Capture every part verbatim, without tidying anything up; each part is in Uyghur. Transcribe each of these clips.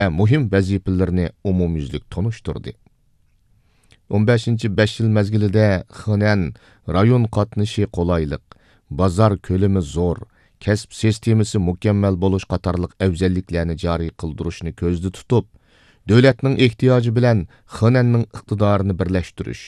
ۋە مۇھىم ۋەزىپىلىرىنى ئومۇميۈزلۈك تونۇشتۇردى. ئون بەشىنچى بەش يىل مەزگىلىدە خېنەن رايون قاتنىشى قولايلىق، بازار كۆلىمى زور، كەسىپ سىستېمىسى مۇكەممەل بولۇش قاتارلىق ئەۋزەللىكلەرنى جارى قىلدۇرۇشنى كۆزدە تۇتۇپ، دۆلەتنىڭ ئېھتىياجى بىلەن خېنەننىڭ ئىقتىدارىنى بىرلەشتۈرۈش،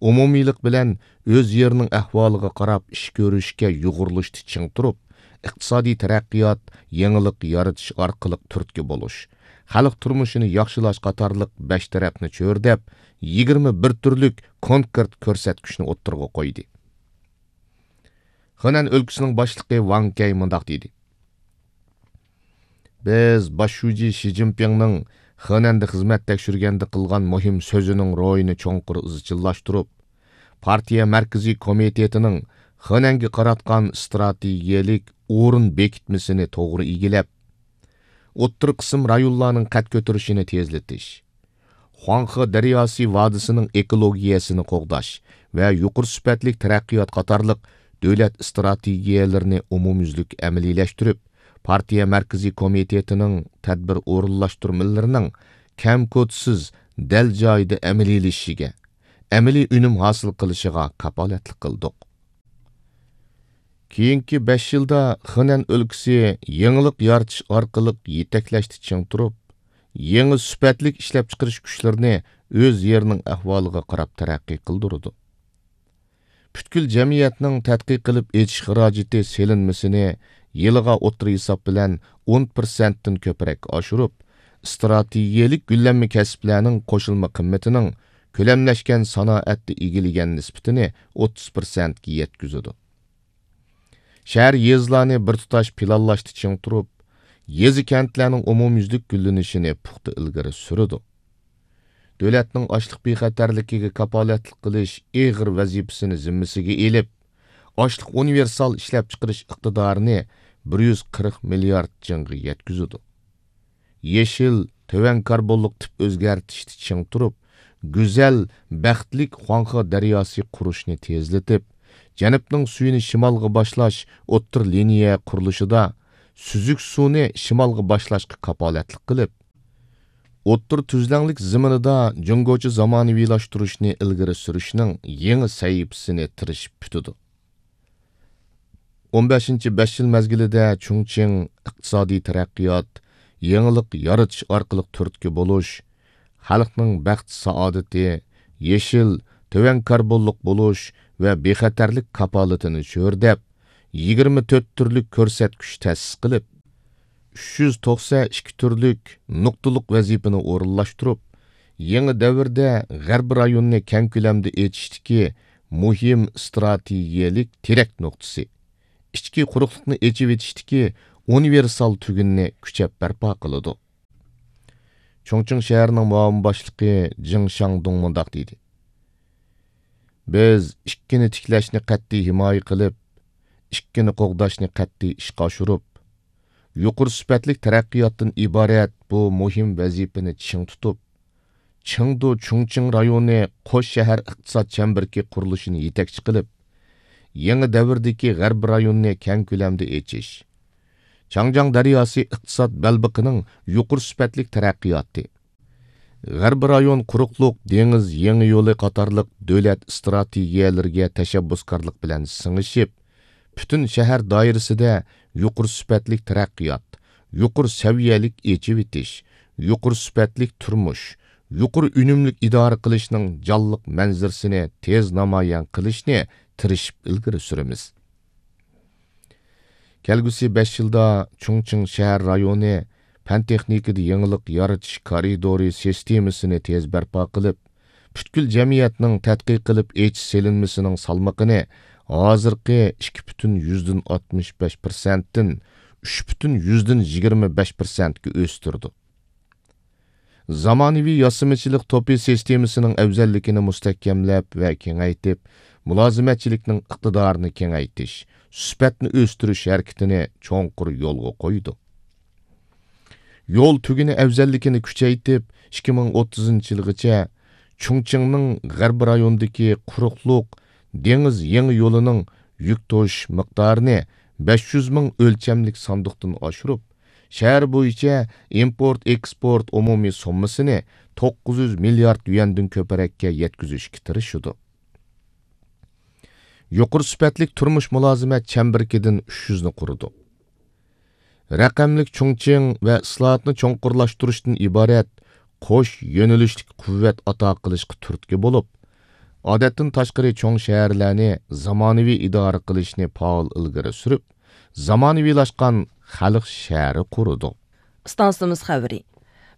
ئومۇمىيلىق بىلەن ئۆز يېرىنىڭ ئەھۋالىغا قاراپ ئىش كۆرۈشكە يۇغۇرۇلۇشتا چىڭ تۇرۇپ، ئىقتىسادىي تەرەققىيات، يېڭىلىق يارىتىش ئارقىلىق تۈرتكە بولۇش، خەلق تۇرمۇشىنى ياخشىلاش قاتارلىق بەش تەرەپنى چۆرىدەپ، يىگىرمە بىر تۈرلۈك كونكرېت كۆرسەتكۈچنى ئوتتۇرىغا قويدى. خېنەن ئۆلكىسىنىڭ باشلىقى ۋاڭ كەي مۇنداق دېدى: بىز باش شۇجى شى جىنپىڭنىڭ خېنەندە خىزمەت تەكشۈرگەندە قىلغان مۇھىم سۆزىنىڭ روھىنى چوڭقۇر ئىزچىللاشتۇرۇپ، پارتىيە مەركىزىي كومىتېتىنىڭ خېنەنگە قاراتقان ئىستراتېگىيەلىك ئورۇن بېكىتمىسىنى توغرا ئىگىلەپ، ئوتتۇرا قىسىم رايونلارنىڭ قەد كۆتۈرۈشىنى تېزلىتىش، خۇاڭخې دەرياسى ۋادىسىنىڭ ئېكولوگىيەسىنى قوغداش ۋە يۇقىرى سۈپەتلىك تەرەققىيات قاتارلىق دۆلەت ئىستراتېگىيەلىرىنى ئومۇميۈزلۈك ئەمەلىيلەشتۈرۈپ، پارتىيە مەركىزىي كومىتېتىنىڭ تەدبىر ئورۇنلاشتۇرمىلىرىنىڭ كەم-كوتىسىز، دەل جايىدا ئەمەلىيلىشىشىگە، ئەمەلىي ئۈنۈم ھاسىل قىلىشىغا كاپالەتلىك قىلدۇق. كېيىنكى بەش يىلدا خېنەن ئۆلكىسى يېڭىلىق يارىتىش ئارقىلىق يېتەكلەشتە چىڭ تۇرۇپ، يېڭى سۈپەتلىك ئىشلەپچىقىرىش كۈچلىرىنى ئۆز يېرىنىڭ ئەھۋالىغا قاراپ تەرەققىي قىلدۇرىدۇ. پۈتكۈل جەمئىيەتنىڭ تەتقىق قىلىپ ئېچىش خىراجىتى سېلىنمىسىنى يىلىغا ئوتتۇرا ھېساب بىلەن ئون پىرسەنتتىن كۆپرەك ئاشۇرۇپ، ئىستراتېگىيەلىك گۈللەنمە كەسىپلەرنىڭ قوشۇلما قىممىتىنىڭ كۆلەملەشكەن سانائەتتە ئىگىلىگەن نىسبىتىنى ئوتتۇز پىرسەنتكە يەتكۈزىدۇ. شەھەر، يېزىلارنى بىر تۇتاش پىلانلاشتا چىڭ تۇرۇپ، يېزا، كەنتلەرنىڭ ئومۇميۈزلۈك گۈللىنىشىنى پۇختا ئىلگىرى سۈرىدۇ. دۆلەتنىڭ ئاشلىق بىخەتەرلىكىگە كاپالەتلىك قىلىش ئېغىر ۋەزىپىسىنى زىممىسىگە ئېلىپ، ئاشلىق ئۇنىۋېرسال ئىشلەپچىقىرىش ئىقتىدارىنى بىر يۈز قىرىق مىليارد جىڭغا يەتكۈزىدۇ. يېشىل، تۆۋەن كاربونلۇق تىپ ئۆزگەرتىشتە چىڭ تۇرۇپ، گۈزەل، بەختلىك خۇاڭخې دەرياسى قۇرۇشنى تېزلىتىپ، جەنۇبنىڭ سۈيىنى شىمالغا باشلاش ئوتتۇرا لىنىيە قۇرۇلۇشىدا سۈزۈك سۇنى شىمالغا باشلاشقا كاپالەتلىك قىلىپ، ئوتتۇرا تۈزلەڭلىك زېمىنىدا جۇڭگوچە زامانىۋىلاشتۇرۇشنى ئىلگىرى سۈرۈشنىڭ يېڭى سەھىپىسىنى تىرىشىپ پۈتىدۇ. ئون بەشىنچى بەش يىل مەزگىلىدە چۇڭچىڭ ئىقتىسادىي تەرەققىيات، يېڭىلىق يارىتىش ئارقىلىق تۈرتكە بولۇش، خەلقنىڭ بەخت-سائادىتى، يېشىل، تۆۋەن كاربونلۇق بولۇش ۋە بىخەتەرلىك كاپالىتىنى چۆرىدەپ، يىگىرمە تۆت تۈرلۈك كۆرسەتكۈچ تەسىس قىلىپ، ئۈچ يۈز توقسەن ئىككى تۈرلۈك نۇقتىلىق ۋەزىپىنى ئورۇنلاشتۇرۇپ، يېڭى دەۋردە غەربىي رايوننى كەڭ كۆلەمدە ئېچىشتىكى مۇھىم ئىستراتېگىيەلىك تىرەك نۇقتىسى، ئىچكى قۇرۇقلۇقنى ئېچىۋېتىشتىكى ئۇنىۋېرسال تۈگۈننى كۈچەپ بەرپا قىلىدۇ. چۇڭچىڭ شەھىرىنىڭ مۇئاۋىن باشلىقى جېڭ شاڭدۇڭ مۇنداق دېدى: بىز ئىككىنى تىكلەشنى قەتئىي ھىمايە قىلىپ، ئىككىنى قوغداشنى قەتئىي ئىشقا ئاشۇرۇپ، يۇقىرى سۈپەتلىك تەرەققىياتتىن ئىبارەت بۇ مۇھىم ۋەزىپىنى چىڭ تۇتۇپ، چېڭدۇ چۇڭچىڭ رايونى قوش شەھەر ئىقتىساد چەمبىرىكى قۇرۇلۇشىنى يېتەكچى قىلىپ، يېڭى دەۋردىكى غەربىي رايوننى كەڭ كۆلەمدە ئېچىش، چاڭجياڭ دەرياسى ئىقتىساد بەلبېقىنىڭ يۇقىرى سۈپەتلىك تەرەققىياتى، غەربىي رايون قۇرۇقلۇق دېڭىز يېڭى يولى قاتارلىق دۆلەت ئىستراتېگىيەلىرىگە تەشەببۇسكارلىق بىلەن سىڭىشىپ، پۈتۈن شەھەر دائىرىسىدە يۇقىرى سۈپەتلىك تەرەققىيات، يۇقىرى سەۋىيەلىك ئېچىۋېتىش، يۇقىرى سۈپەتلىك تۇرمۇش، يۇقىرى ئۈنۈملۈك ئىدارە قىلىشنىڭ جانلىق مەنزىرىسىنى تېز نامايان قىلىشنى تىرىشىپ ئىلگىرى سۈرىمىز. كەلگۈسى بەش يىلدا چۇڭچىڭ شەھەر رايونى پەن-تېخنىكىدا يېڭىلىق يارىتىش كارىدورى سىستېمىسىنى تېز بەرپا قىلىپ، پۈتكۈل جەمئىيەتنىڭ تەتقىق قىلىپ ئېچىش سېلىنمىسىنىڭ سالمىقىنى ھازىرقى ئىككى پۈتۈن يۈزدىن ئاتمىش بەش پىرسەنتتىن ئۈچ پۈتۈن يۈزدىن يىگىرمە بەش پىرسەنتكە ئۆستۈردۇق. زامانىۋى ياسىمىچىلىق توپى سىستېمىسىنىڭ ئەۋزەللىكىنى مۇستەھكەملەپ ۋە كېڭەيتىپ، مۇلازىمەتچىلىكنىڭ ئىقتىدارىنى كېڭەيتىش، سۈپەتنى ئۆستۈرۈش ھەرىكىتىنى چوڭقۇر يولغا قويدۇق. يول تۈگۈنى ئەۋزەللىكىنى كۈچەيتىپ، ئىككى مىڭ ئوتتۇزىنچى يىلغىچە چۇڭچىڭنىڭ غەربىي رايونىدىكى قۇرۇقلۇق دېڭىز يېڭى يولىنىڭ يۈك توشۇش مىقدارىنى بەش يۈز مىڭ ئۆلچەملىك ساندۇقتىن ئاشۇرۇپ، شەھەر بويىچە ئىمپورت ئېكسپورت ئومۇمىي سوممىسىنى توققۇز يۈز مىليارد يۈەندىن كۆپرەككە يەتكۈزۈشكە تىرىشىدۇ. يۇقىرى سۈپەتلىك تۇرمۇش مۇلازىمەت چەمبىرىكىدىن ئۈچ يۈزنى قۇرىدۇق. رەقەملىك چۇڭچىڭ ۋە ئىسلاھاتنى چوڭقۇرلاشتۇرۇشتىن ئىبارەت قوش يۆنىلىشلىك قۇۋۋەت ئاتا قىلىشقا تۈرتكە بولۇپ، ئادەتتىن تاشقىرى چوڭ شەھەرلەرنى زامانىۋى ئىدارە قىلىشنى پائال ئىلگىرى سۈرۈپ، زامانىۋىلاشقان خەلق شەھىرى قۇرىدۇق. ئىستانسىمىز خەۋىرى.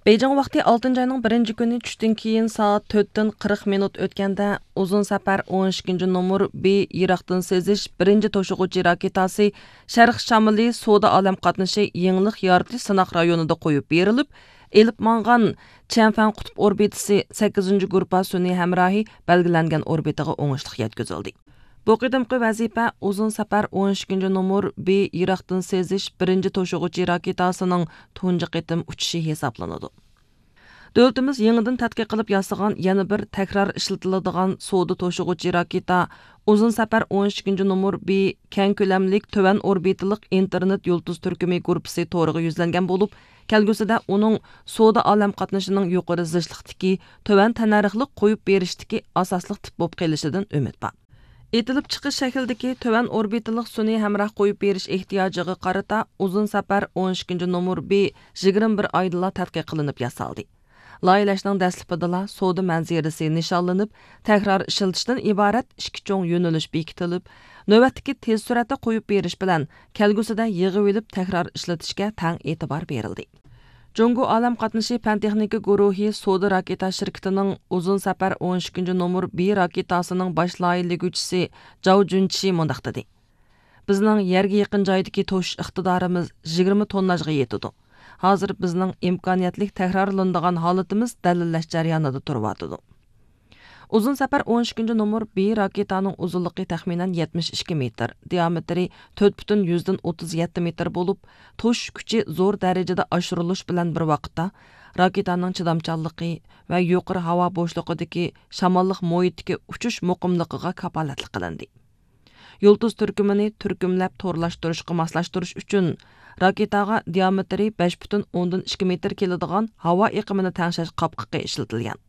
بېيجىڭ ۋاقتى ئالتىنچى ئاينىڭ بىرىنچى كۈنى چۈشتىن كېيىن سائەت تۆتتىن قىرىق مىنۇت ئۆتكەندە، ئۇزۇن سەپەر ئون ئىككىنچى نومۇر بى يىراقتىن سېزىش بىرىنچى توشۇغۇچى راكېتاسى شەرق شامىلى سودا ئالەم قاتنىشى يېڭىلىق يارىتىش سىناق رايونىدا قويۇپ بېرىلىپ، ئېلىپ ماڭغان چيەنفەن قۇتۇپ ئوربىتىسى سەككىزىنچى گۇرۇپپا سۈنئىي ھەمراھى بەلگىلەنگەن ئوربىتىغا ئوڭۇشلۇق يەتكۈزۈلدى. بۇ قېتىمقى ۋەزىپە ئۇزۇن سەپەر ئون ئىككىنچى نومۇر بى يىراقتىن سېزىش بىرىنچى توشۇغۇچى راكېتاسىنىڭ تۇنجى قېتىم ئۇچۇشى ھېسابلىنىدۇ. دۆلىتىمىز يېڭىدىن تەتقىق قىلىپ ياسىغان يەنە بىر تەكرار ئىشلىتىلىدىغان سودا توشۇغۇچى راكېتا، ئۇزۇن سەپەر ئون ئىككىنچى نومۇر بى كەڭ كۆلەملىك تۆۋەن ئوربىتىلىق ئىنتېرنېت يۇلتۇز تۈركۈمى گۇرۇپپىسى تورىغا يۈزلەنگەن بولۇپ، كەلگۈسىدە ئۇنىڭ سودا ئالەم قاتنىشىنىڭ يۇقىرى زىچلىقتىكى، تۆۋەن تەننەرخلىق قويۇپ بېرىشتىكى ئاساسلىق تىپ بولۇپ قېلىشىدىن ئۈمىد بار. ئېتىلىپ چىقىش شەكلىدىكى تۆۋەن ئوربىتىلىق سۈنئىي ھەمراھ قويۇپ بېرىش ئېھتىياجىغا قارىتا ئۇزۇن سەپەر ئون ئىككىنچى نومۇر بى يىگىرمە بىر ئايدىلا تەتقىق قىلىنىپ ياسالدى. لايىھەلەشنىڭ دەسلىپىدىلا سودا مەنزىرىسى نىشانلىنىپ، تەكرار ئىشلىتىشتىن ئىبارەت ئىككى چوڭ يۆنىلىش بېكىتىلىپ، نۆۋەتتىكى تېز سۈرئەتتە قويۇپ بېرىش بىلەن كەلگۈسىدە يىغىۋېلىپ تەكرار ئىشلىتىشكە تەڭ ئېتىبار بېرىلدى. جۇڭگو ئالەم قاتنىشى پەن تېخنىكا گۇرۇھى سودا راكېتا شىركىتىنىڭ ئۇزۇن سەپەر ئون ئىككىنچى نومۇر بى راكېتاسىنىڭ باش لايىھىلىگۈچىسى جاۋ جۈنچى مۇنداق دېدى: بىزنىڭ يەرگە يېقىن جايدىكى توشۇش ئىقتىدارىمىز يىگىرمە تونناژغا يېتىدۇ. ھازىر بىزنىڭ ئىمكانىيەتلىك تەكرارلىنىدىغان ھالىتىمىز دەلىللەش جەريانىدا تۇرۇۋاتىدۇ. ئۇزۇن سەپەر ئون ئىككىنچى نومۇر بى راكېتانىڭ ئۇزۇنلۇقى تەخمىنەن يەتمىش ئىككى مېتىر، دىئامېتىرى تۆت پۈتۈن يۈزدىن ئوتتۇز يەتتە مېتىر بولۇپ، توشۇش كۈچى زور دەرىجىدە ئاشۇرۇلۇش بىلەن بىر ۋاقىتتا، راكېتانىڭ چىدامچانلىقى ۋە يۇقىرى ھاۋا بوشلۇقىدىكى شاماللىق مۇھىتتىكى ئۇچۇش مۇقىملىقىغا كاپالەتلىك قىلىندى. يۇلتۇز تۈركۈمىنى تۈركۈملەپ تورلاشتۇرۇشقا ماسلاشتۇرۇش ئۈچۈن، راكېتاغا دىئامېتىرى بەش پۈتۈن ئوندىن ئىككى مېتىر كېلىدىغان ھاۋا ئېقىمىنى تەڭشەش قاپقىقى ئىشلىتىلگەن.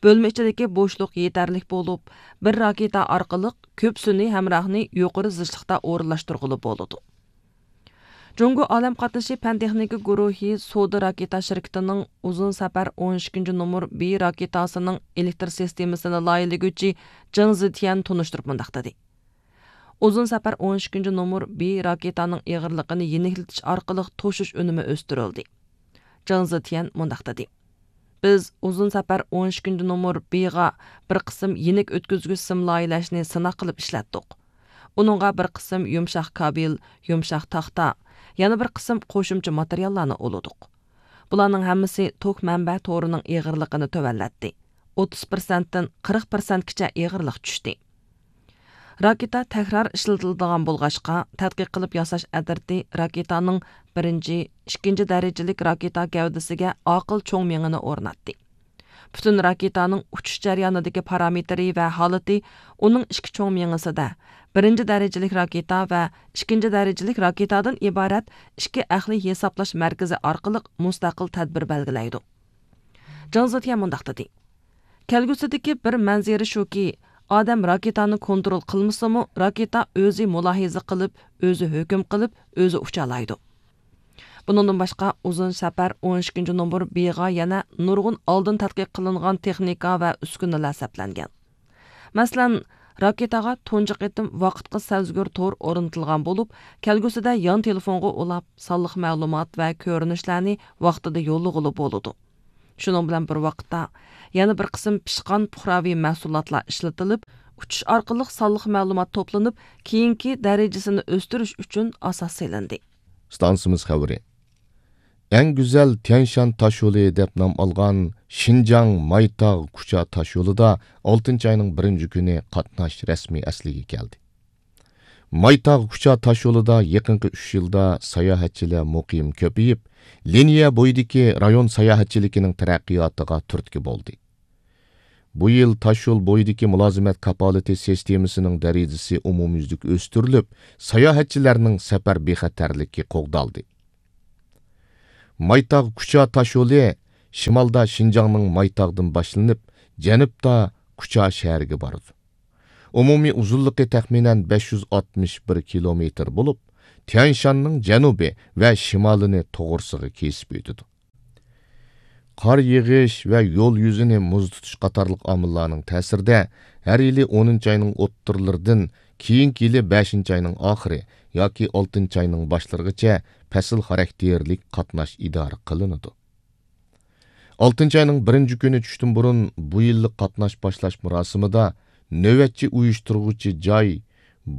بۆلمە ئىچىدىكى بوشلۇق يېتەرلىك بولۇپ، بىر راكېتا ئارقىلىق كۆپ سۈنئىي ھەمراھنى يۇقىرى زىچلىقتا ئورۇنلاشتۇرغىلى بولىدۇ. جۇڭگو ئالەم قاتنىشى پەن تېخنىكا گۇرۇھى سودا راكېتا شىركىتىنىڭ ئۇزۇن سەپەر ئون ئىككىنچى نومۇر بى راكېتاسىنىڭ ئېلېكتر سىستېمىسىنى لايىھىلىگۈچى جېڭ زىتيەن تونۇشتۇرۇپ مۇنداق دېدى: ئۇزۇن سەپەر ئون ئىككىنچى نومۇر بى راكېتانىڭ ئېغىرلىقىنى يېنىكلىتىش ئارقىلىق توشۇش ئۈنۈمى ئۆستۈرۈلدى. جېڭ زىتيەن مۇنداق دېدى: بىز ئۇزۇن سەپەر ئون ئىككىنچى نومۇر بىغا بىر قىسىم يېنىك ئۆتكۈزگۈچ سىم لايىھەلەشنى سىناق قىلىپ ئىشلەتتۇق. ئۇنىڭغا بىر قىسىم يۇمشاق كابېل، يۇمشاق تاختا، يەنە بىر قىسىم قوشۇمچە ماتېرىياللارنى ئۇلىدۇق. بۇلارنىڭ ھەممىسى توك مەنبە تورىنىڭ ئېغىرلىقىنى تۆۋەنلەتتى. ئوتتۇز پىرسەنتتىن قىرىق پىرسەنتكىچە ئېغىرلىق چۈشتى. راكېتا تەكرار ئىشلىتىلىدىغان بولغاچقا، تەتقىق قىلىپ ياساش ئەترىتى راكېتانىڭ بىرىنچى، ئىككىنچى دەرىجىلىك راكېتا گەۋدىسىگە ئاقىل چوڭ مېڭىنى ئورناتتى. پۈتۈن راكېتانىڭ ئۇچۇش جەريانىدىكى پارامېتىرى ۋە ھالىتى ئۇنىڭ ئىككى چوڭ مېڭىسىدە، بىرىنچى دەرىجىلىك راكېتا ۋە ئىككىنچى دەرىجىلىك راكېتادىن ئىبارەت ئىككى ئەقلىي ھېسابلاش مەركىزى ئارقىلىق مۇستەقىل تەدبىر بەلگىلەيدۇ. جېڭ زېتيەن مۇنداق دېدى: كەلگۈسىدىكى بىر مەنزىرە شۇكى، ئادەم راكېتانى كونترول قىلمىسىمۇ، راكېتا ئۆزى مۇلاھىزە قىلىپ، ئۆزى ھۆكۈم قىلىپ، ئۆزى ئۇچالايدۇ. بۇنىڭدىن باشقا، ئۇزۇن سەپەر ئون ئىككىنچى نومۇر بىغا يەنە نۇرغۇن ئالدىن تەتقىق قىلىنغان تېخنىكا ۋە ئۈسكۈنىلەر سەپلەنگەن. مەسىلەن، راكېتاغا تۇنجى قېتىم ۋاقىتقا سەزگۈر تور ئورنىتىلغان بولۇپ، كەلگۈسىدە يان تېلېفونغا ئۇلاپ، سانلىق مەلۇمات ۋە كۆرۈنۈشلەرنى ۋاقتىدا يوللىغىلى بولىدۇ. شۇنىڭ بىلەن بىر ۋاقىتتا، يەنە بىر قىسىم پىشقان پۇقراۋى مەھسۇلاتلار ئىشلىتىلىپ، ئۇچۇش ئارقىلىق سانلىق مەلۇمات توپلىنىپ، كېيىنكى دەرىجىسىنى ئۆستۈرۈش ئۈچۈن ئاساس سېلىندى. ئىستانسىمىز خەۋىرى. ئەڭ گۈزەل تيەنشان تاشيولى دەپ نام ئالغان شىنجاڭ مايتاغ كۇچا تاشيولىدا ئالتىنچى ئاينىڭ بىرىنچى كۈنى قاتناش رەسمىي ئەسلىگە كەلدى. مايتاغ كۇچا تاشيولىدا يېقىنقى ئۈچ يىلدا ساياھەتچىلەر مۇقىم كۆپىيىپ، لىنىيە بويىدىكى رايون ساياھەتچىلىكىنىڭ تەرەققىياتىغا تۈرتكە بولدى. بۇ يىل تاشيول بويىدىكى مۇلازىمەت كاپالىتى سىستېمىسىنىڭ دەرىجىسى ئومۇميۈزلۈك ئۆستۈرۈلۈپ، ساياھەتچىلەرنىڭ سەپەر بىخەتەرلىكى قوغدالدى. مايتاغ كۇچا تاشيولى شىمالدا شىنجاڭنىڭ مايتاغدىن باشلىنىپ، جەنۇبتا كۇچا شەھىرىگە بارىدۇ. ئومۇمىي ئۇزۇنلۇقى تەخمىنەن بەش يۈز ئاتمىش بىر كىلومېتىر بولۇپ، تيەنشاننىڭ جەنۇبى ۋە شىمالىنى توغرىسىغا كېسىپ ئۆتىدۇ. قار يېغىش ۋە يول يۈزىنى مۇز تۇتۇش قاتارلىق ئامىللارنىڭ تەسىرىدە، ھەر يىلى ئونىنچى ئاينىڭ ئوتتۇرىلىرىدىن كېيىنكى يىلى بەشىنچى ئاينىڭ ئاخىرى ياكى ئالتىنچى ئاينىڭ باشلىرىغىچە پەسىل خاراكتېرلىك قاتناش ئىدارە قىلىنىدۇ. ئالتىنچى ئاينىڭ بىرىنچى كۈنى چۈشتىن بۇرۇن بۇ يىللىق قاتناش باشلاش مۇراسىمىدا نۆۋەتچى ئۇيۇشتۇرغۇچى جاي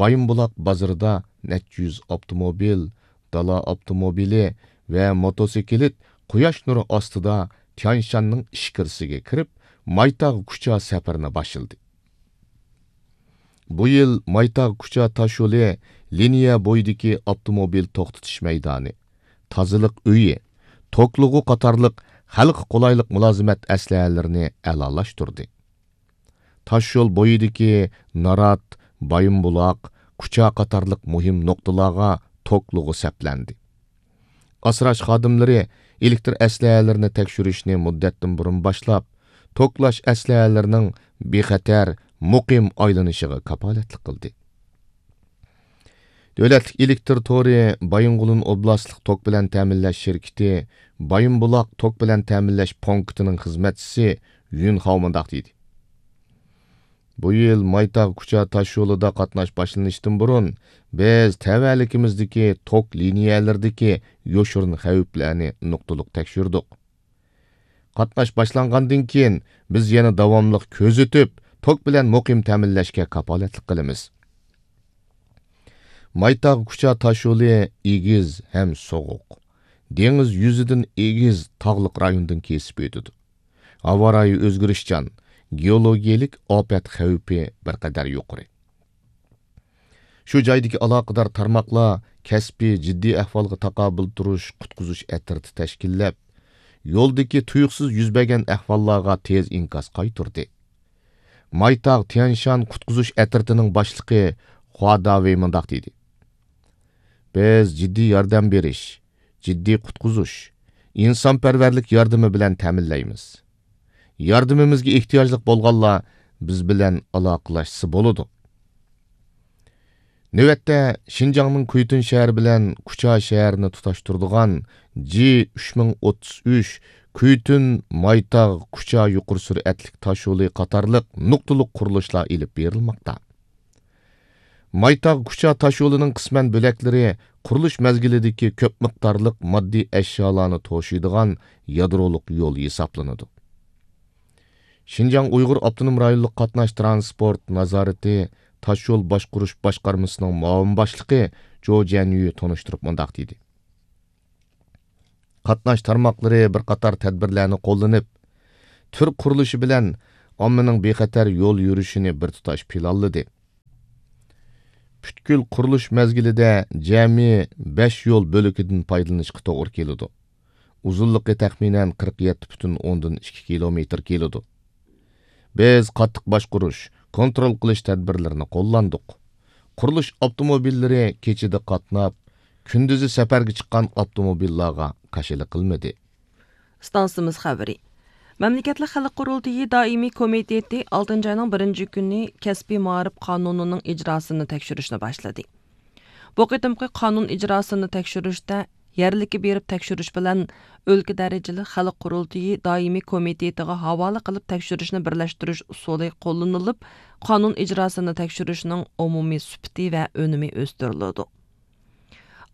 بايىنبۇلاق بازىرىدا نەچچە يۈز ئاپتوموبىل، دالا ئاپتوموبىلى ۋە موتوسىكلىت قۇياش نۇرى ئاستىدا تيەنشاننىڭ ئىچكىرىسىگە كىرىپ، مايتاغ كۇچا سەپىرىنى باشلىدى. بۇ يىل مايتاغ كۇچا تاشيولى لىنىيە بويىدىكى ئاپتوموبىل توختىتىش مەيدانى، تازىلىق ئۆيى، توكلىغۇ قاتارلىق خەلققە قولايلىق مۇلازىمەت ئەسلىھەلىرىنى ئەلالاشتۇردى. تاشيول بويىدىكى نارات، بايىنبۇلاق، كۇچا قاتارلىق مۇھىم نۇقتىلارغا توكلىغۇ سەپلەندى. ئاسراش خادىملىرى ئېلېكتر ئەسلىھەلىرىنى تەكشۈرۈشنى مۇددەتتىن بۇرۇن باشلاپ، توكلاش ئەسلىھەلىرىنىڭ بىخەتەر، مۇقىم ئايلىنىشىغا كاپالەتلىك قىلدى. دۆلەتلىك ئېلېكتر تورى بايىنغولىن ئوبلاستلىق توك بىلەن تەمىنلەش شىركىتى بايىنبۇلاق توك بىلەن تەمىنلەش پونكىتىنىڭ خىزمەتچىسى يۈن خاۋ مۇنداق دېدى: بۇ يىل مايتاغ كۇچا تاشيولىدا قاتناش باشلىنىشتىن بۇرۇن، بىز تەۋەلىكىمىزدىكى توك لىنىيەلىرىدىكى يوشۇرۇن خەۋپلەرنى نۇقتىلىق تەكشۈردۇق. قاتناش باشلانغاندىن كېيىن، بىز يەنە داۋاملىق كۆزىتىپ، توك بىلەن مۇقىم تەمىنلەشكە كاپالەتلىك قىلىمىز. مايتاغ كۇچا تاشيولى ئېگىز ھەم سوغۇق، دېڭىز يۈزىدىن ئېگىز، تاغلىق رايوندىن كېسىپ ئۆتىدۇ. ھاۋا رايى ئۆزگىرىشچان، گېئولوگىيەلىك ئاپەت خەۋپى بىر قەدەر يۇقىرى. شۇ جايدىكى ئالاقىدار تارماقلار كەسپىي جىددىي ئەھۋالغا تاقابىل تۇرۇش قۇتقۇزۇش ئەترىتى تەشكىللەپ، يولدىكى تۇيۇقسىز يۈز بەرگەن ئەھۋاللارغا تېز ئىنكاس قايتۇردى. مايتاغ تيەنشان قۇتقۇزۇش ئەترىتىنىڭ باشلىقى خۇا داۋېي مۇنداق دېدى: بىز جىددىي ياردەم بېرىش، جىددىي قۇتقۇزۇش، ئىنسانپەرۋەرلىك ياردىمى بىلەن تەمىنلەيمىز. ياردىمىمىزگە ئېھتىياجلىق بولغانلار بىز بىلەن ئالاقىلەشسە بولىدۇ. نۆۋەتتە، شىنجاڭنىڭ كۇيتۇن شەھىرى بىلەن كۇچا شەھىرىنى تۇتاشتۇرىدىغان جى ئۈچ مىڭ ئوتتۇز ئۈچ كۇيتۇن مايتاغ كۇچا يۇقىرى سۈرئەتلىك تاشيولى قاتارلىق نۇقتىلىق قۇرۇلۇشلار ئېلىپ بېرىلماقتا. مايتاغ كۇچا تاشيولىنىڭ قىسمەن بۆلەكلىرى قۇرۇلۇش مەزگىلىدىكى كۆپ مىقدارلىق ماددىي ئەشيالارنى توشۇيدىغان يادرولۇق يول ھېسابلىنىدۇ. شىنجاڭ ئۇيغۇر ئاپتونوم رايونلۇق قاتناش تىرانسپورت نازارىتى تاشيول باشقۇرۇش باشقارمىسىنىڭ مۇئاۋىن باشلىقى جو جيەنيۈ تونۇشتۇرۇپ مۇنداق دېدى: قاتناش تارماقلىرى بىر قاتار تەدبىرلەرنى قوللىنىپ، تۈر قۇرۇلۇشى بىلەن ئاممىنىڭ بىخەتەر يول يۈرۈشىنى بىر تۇتاش پىلانلىدى. پۈتكۈل قۇرۇلۇش مەزگىلىدە جەمئىي بەش يول بۆلىكىدىن پايدىلىنىشقا توغرا كېلىدۇ. ئۇزۇنلۇقى تەخمىنەن قىرىق يەتتە پۈتۈن ئوندىن ئىككى كىلومېتىر كېلىدۇ. بىز قاتتىق باشقۇرۇش، كونترول قىلىش تەدبىرلىرىنى قوللاندۇق. قۇرۇلۇش ئاپتوموبىللىرى كېچىدە قاتناپ، كۈندۈزى سەپەرگە چىققان ئاپتوموبىللارغا قارشىلىق قىلمىدى. ئىستانسىمىز خەۋىرى. مەملىكەتلىك خەلق قۇرۇلتىيى دائىمىي كومىتېتى ئالتىنچى ئاينىڭ بىرىنچى كۈنى كەسپىي مائارىپ قانۇنىنىڭ ئىجراسىنى تەكشۈرۈشنى باشلىدى. بۇ قېتىمقى قانۇن ئىجراسىنى تەكشۈرۈشتە يەرلىككە بېرىپ تەكشۈرۈش بىلەن ئۆلكە دەرىجىلىك خەلق قۇرۇلتىيى دائىمىي كومىتېتىغا ھاۋالە قىلىپ تەكشۈرۈشنى بىرلەشتۈرۈش ئۇسۇلى قوللىنىلىپ، قانۇن ئىجراسىنى تەكشۈرۈشنىڭ ئومۇمىي سۈپىتى ۋە ئۈنۈمى ئۆستۈرۈلىدۇ.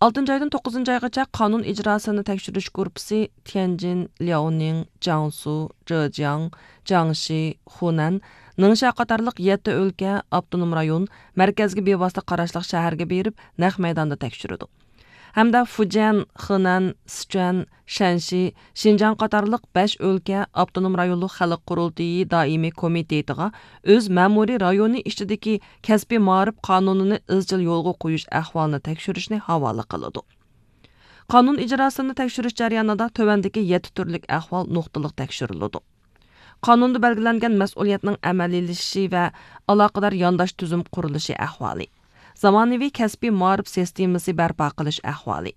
ئالتىنچى ئايدىن توققۇزىنچى ئايغىچە قانۇن ئىجراسىنى تەكشۈرۈش گۇرۇپپىسى تيەنجىن، لياۋنىڭ، جياڭسۇ، جېجياڭ، جياڭشى، خۇنەن، نىڭشيا قاتارلىق يەتتە ئۆلكە، ئاپتونوم رايون، مەركەزگە بىۋاسىتە قاراشلىق شەھەرگە بېرىپ، نەق مەيداندا تەكشۈرىدۇ. ھەمدە فۇجيەن، خېنەن، سىچۈەن، شەنشى، شىنجاڭ قاتارلىق بەش ئۆلكە، ئاپتونوم رايونلۇق خەلق قۇرۇلتىيى دائىمىي كومىتېتىغا ئۆز مەمۇرىي رايونى ئىچىدىكى كەسپىي مائارىپ قانۇنىنى ئىزچىل يولغا قويۇش ئەھۋالىنى تەكشۈرۈشنى ھاۋالە قىلىدۇ. قانۇن ئىجراسىنى تەكشۈرۈش جەريانىدا تۆۋەندىكى يەتتە تۈرلۈك ئەھۋال نۇقتىلىق تەكشۈرۈلىدۇ. قانۇندا بەلگىلەنگەن مەسئۇلىيەتنىڭ ئەمەلىيلىشىشى ۋە ئالاقىدار يانداش تۈزۈم قۇرۇلۇشى ئەھۋالى، زامانىۋى كەسپىي مائارىپ سىستېمىسى بەرپا قىلىش ئەھۋالى،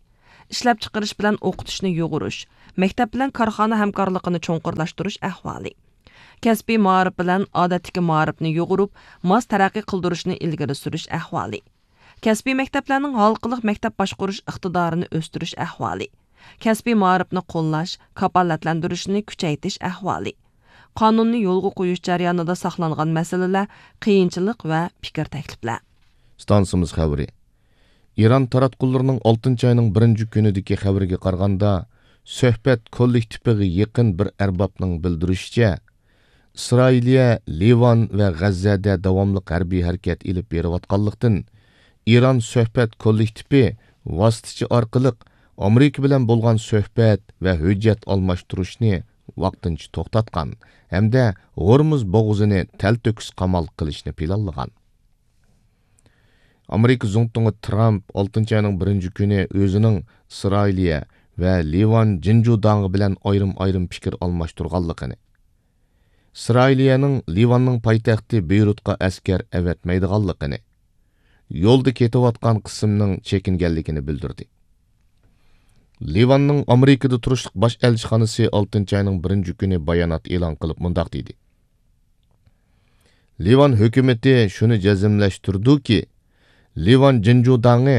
ئىشلەپچىقىرىش بىلەن ئوقۇتۇشنى يۇغۇرۇش، مەكتەپ بىلەن كارخانا ھەمكارلىقىنى چوڭقۇرلاشتۇرۇش ئەھۋالى، كەسپىي مائارىپ بىلەن ئادەتتىكى مائارىپنى يۇغۇرۇپ، ماس تەرەققىي قىلدۇرۇشنى ئىلگىرى سۈرۈش ئەھۋالى، كەسپىي مەكتەپلەرنىڭ ھالقىلىق مەكتەپ باشقۇرۇش ئىقتىدارىنى ئۆستۈرۈش ئەھۋالى، كەسپىي مائارىپنى قوللاش، كاپالەتلەندۈرۈشنى كۈچەيتىش ئەھۋالى، قانۇننى يولغا قويۇش جەريانىدا ساقلانغان مەسىلىلەر، قىيىنچىلىق ۋە پىكىر تەكلىپلەر. ئىستانسىمىز خەۋىرى. ئىران تاراتقۇلىرىنىڭ ئالتىنچى ئاينىڭ بىرىنچى كۈنىدىكى خەۋىرىگە قارىغاندا، سۆھبەت كوللېكتىپىغا يېقىن بىر ئەربابنىڭ بىلدۈرۈشىچە، ئىسرائىلىيە لىۋان ۋە غەززەدە داۋاملىق ھەربىي ھەرىكەت ئېلىپ بېرىۋاتقانلىقتىن، ئىران سۆھبەت كوللېكتىپى ۋاسىتىچى ئارقىلىق ئامېرىكا بىلەن بولغان سۆھبەت ۋە ھۆججەت ئالماشتۇرۇشنى ۋاقتىنچە توختاتقان ھەمدە ھورمۇز بوغۇزىنى تەلتۆكۈس قامال قىلىشنى پىلانلىغان. ئامېرىكا زۇڭتۇڭى ترامپ ئالتىنچى ئاينىڭ بىرىنچى كۈنى ئۆزىنىڭ ئىسرائىلىيە ۋە لىۋان جىنجۇداڭى بىلەن ئايرىم-ئايرىم پىكىر ئالماشتۇرغانلىقىنى، ئىسرائىلىيەنىڭ لىۋاننىڭ پايتەختى بېيرۇتقا ئەسكەر ئەۋەتمەيدىغانلىقىنى، يولدا كېتىۋاتقان قىسىمنىڭ چېكىنگەنلىكىنى بىلدۈردى. لىۋاننىڭ ئامېرىكىدا تۇرۇشلۇق باش ئەلچىخانىسى ئالتىنچى ئاينىڭ بىرىنچى كۈنى بايانات ئېلان قىلىپ مۇنداق دېدى: لىۋان ھۆكۈمىتى شۇنى جەزملەشتۈرىدۇكى، لىۋان جىنجۇداڭى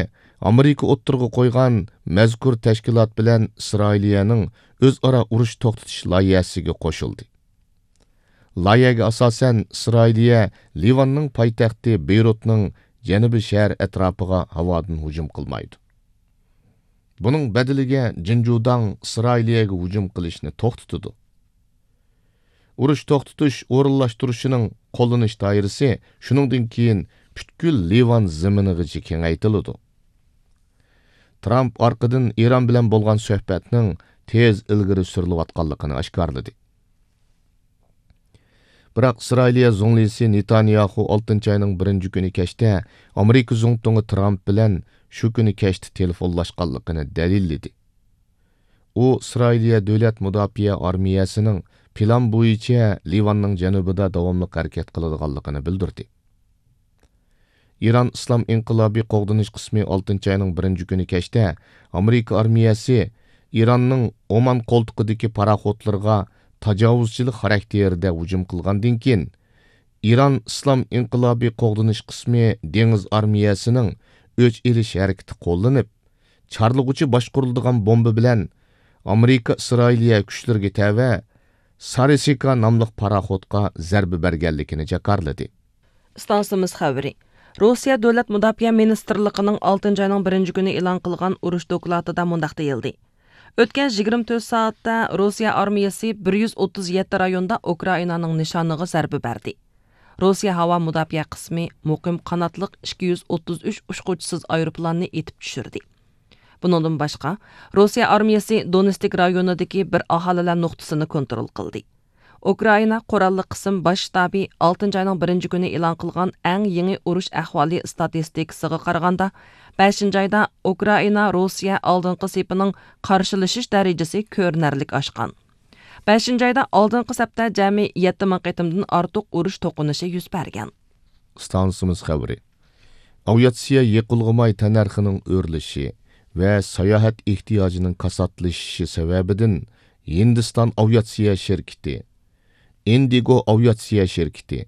ئامېرىكا ئوتتۇرىغا قويغان مەزكۇر تەشكىلات بىلەن ئىسرائىلىيەنىڭ ئۆزئارا ئۇرۇش توختىتىش لايىھەسىگە قوشۇلدى. لايىھەگە ئاساسەن، ئىسرائىلىيە لىۋاننىڭ پايتەختى بېيرۇتنىڭ جەنۇبىي شەھەر ئەتراپىغا ھاۋادىن ھۇجۇم قىلمايدۇ. بۇنىڭ بەدىلىگە جىنجۇداڭ ئىسرائىلىيەگە ھۇجۇم قىلىشنى توختىتىدۇ. ئۇرۇش توختىتىش ئورۇنلاشتۇرۇشىنىڭ قوللىنىش دائىرىسى شۇنىڭدىن كېيىن پۈتكۈل لىۋان زېمىنىغىچە كېڭەيتىلىدۇ. ترامپ ئارقىدىن ئىران بىلەن بولغان سۆھبەتنىڭ تېز ئىلگىرى سۈرۈلۈۋاتقانلىقىنى ئاشكارىلىدى. بىراق ئىسرائىلىيە زۇڭلىسى نېتانياخۇ ئالتىنچى ئاينىڭ بىرىنچى كۈنى كەچتە ئامېرىكا زۇڭتۇڭى ترامپ بىلەن شۇ كۈنى كەچتە تېلېفونلاشقانلىقىنى دەلىللىدى. ئۇ ئىسرائىلىيە دۆلەت مۇداپىئە ئارمىيەسىنىڭ پىلان بويىچە لىۋاننىڭ جەنۇبىدا داۋاملىق ھەرىكەت قىلىدىغانلىقىنى بىلدۈردى. ئىران ئىسلام ئىنقىلابى قوغدىنىش قىسمى ئالتىنچى ئاينىڭ بىرىنچى كۈنى كەچتە ئامېرىكا ئارمىيەسى ئىراننىڭ ئومان قولتۇقىدىكى پاراخوتلىرىغا تاجاۋۇزچىلىق خاراكتېرىدە ھۇجۇم قىلغاندىن كېيىن، ئىران ئىسلام ئىنقىلابى قوغدىنىش قىسمى دېڭىز ئارمىيەسىنىڭ ئۆچ ئېلىش ھەرىكىتى قوللىنىپ، چارلىغۇچى باشقۇرۇلىدىغان بومبا بىلەن ئامېرىكا ئىسرائىلىيە كۈچلىرىگە تەۋە سارىسىكا ناملىق پاراخوتقا زەربە بەرگەنلىكىنى جاكارلىدى. ئىستانسىمىز خەۋىرى. روسىيە دۆلەت مۇداپىئە مىنىستىرلىقىنىڭ ئالتىنچى ئاينىڭ بىرىنچى كۈنى ئېلان قىلغان ئۇرۇش دوكلاتىدا مۇنداق دېيىلدى: ئۆتكەن يىگىرمە تۆت سائەتتە روسىيە ئارمىيەسى بىر يۈز ئوتتۇز يەتتە رايوندا ئۇكرائىنانىڭ نىشانىغا زەربە بەردى. روسىيە ھاۋا مۇداپىئە قىسمى مۇقىم قاناتلىق ئىككى يۈز ئوتتۇز ئۈچ ئۇچقۇچىسىز ئايروپىلاننى ئېتىپ چۈشۈردى. بۇنىڭدىن باشقا، روسىيە ئارمىيەسى دونېتسك رايونىدىكى بىر ئاھالىلەر نۇقتىسىنى كونترول قىلدى. ئۇكرائىنا قوراللىق قىسىم باش شتابى ئالتىنچى ئاينىڭ بىرىنچى كۈنى ئېلان قىلغان ئەڭ يېڭى ئۇرۇش ئەھۋالى ئىستاتىستىكىسىغا قارىغاندا، بەشىنچى ئايدا ئۇكرائىنا روسىيە ئالدىنقى سېپىنىڭ قارشىلىشىش دەرىجىسى كۆرۈنەرلىك ئاشقان. بەشىنچى ئايدا ئالدىنقى سەپتە جەمئىي يەتتە مىڭ قېتىمدىن ئارتۇق ئۇرۇش توقۇنۇشى يۈز بەرگەن. ئىستانسىمىز خەۋىرى. ئاۋىئاتسىيە يېقىلغۇ ماي تەننەرخىنىڭ ئۆرلىشى ۋە ساياھەت ئېھتىياجىنىڭ كاساتلىشىشى سەۋەبىدىن، ھىندىستان ئاۋىئاتسىيە شىركىتى، ئىندىگو ئاۋىئاتسىيە شىركىتى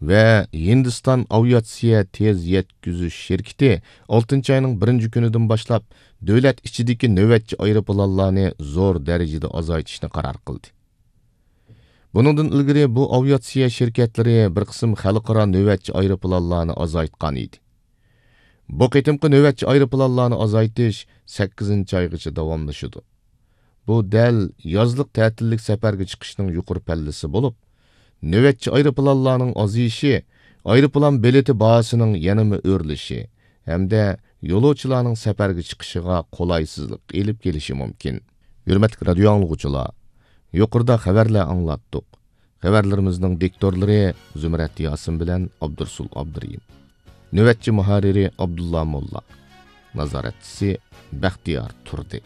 ۋە ھىندىستان ئاۋىئاتسىيە تېز يەتكۈزۈش شىركىتى ئالتىنچى ئاينىڭ بىرىنچى كۈنىدىن باشلاپ دۆلەت ئىچىدىكى نۆۋەتچى ئايروپىلانلارنى زور دەرىجىدە ئازايتىشنى قارار قىلدى. بۇنىڭدىن ئىلگىرى بۇ ئاۋىئاتسىيە شىركەتلىرى بىر قىسىم خەلقئارا نۆۋەتچى ئايروپىلانلارنى ئازايتقان ئىدى. بۇ قېتىمقى نۆۋەتچى ئايروپىلانلارنى ئازايتىش سەككىزىنچى ئايغىچە داۋاملىشىدۇ. بۇ دەل يازلىق تەتىللىك سەپەرگە چىقىشنىڭ يۇقىرى پەللىسى بولۇپ، نۆۋەتچى ئايروپىلانلارنىڭ ئازىيىشى ئايروپىلان بېلىتى باھاسىنىڭ يەنىمۇ ئۆرلىشى ھەمدە يولۇچىلارنىڭ سەپەرگە چىقىشىغا قولايسىزلىق ئېلىپ كېلىشى مۇمكىن. ھۆرمەتلىك رادىيو ئاڭلىغۇچىلار، يۇقىرىدا خەۋەرلەر ئاڭلاتتۇق. خەۋەرلىرىمىزنىڭ دىكتورلىرى زۇمرەت ياسىن بىلەن ئابدۇرسۇل ئابدۇرېھىم. نۆۋەتچى مۇھەررىرى ئابدۇللا موللا. نازارەتچىسى بەختىيار تۇردى.